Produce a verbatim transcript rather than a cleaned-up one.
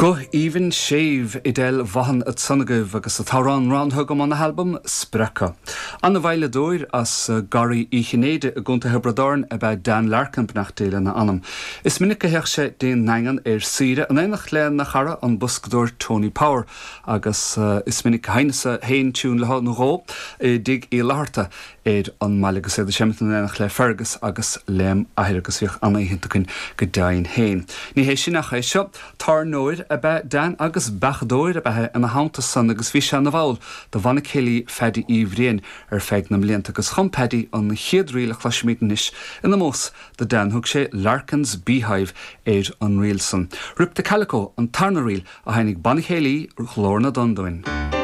Guth aoibhinn séimh Edel Vaughan ansan agaibh agus an t-amhrán roghnaithe agam óna halbam Spreacadh. An-veidhleadóir as Garraí Uí Chinnéide i gContae Thiobraid Árann ab ea Dan Larkin beannacht Dé lena anam. Is minic a théadh sé dtí'n nDaingean ar saoire in éineacht lena chara an boscadóir Tony Power agus uh, is minic a sheinneas-sa féin tiún le nó dhó i dTigh Uí Fhlatharta ar an mbaile agus iad ag seinm in éineacht le Fergus agus lem athair agus bhíodh an-oíche againn go deimhin féin. Ní hé sin ach é seo tábhairneoir ab ea Dan agus beachadóir ab ea ina theannta san agus bhí sé ina bhall de bhanna céilí Phaddy Uí Bhriain ar feadh na mblianta agus chum Paddy an chéad ríl a chloisfimid anois in ómós do Dan thug sé Larkin's Beehive ar an ríl san. Rip the Calico an tarna ríl a sheinmidh Banna Céilí Ghlór na dTonn dúinn.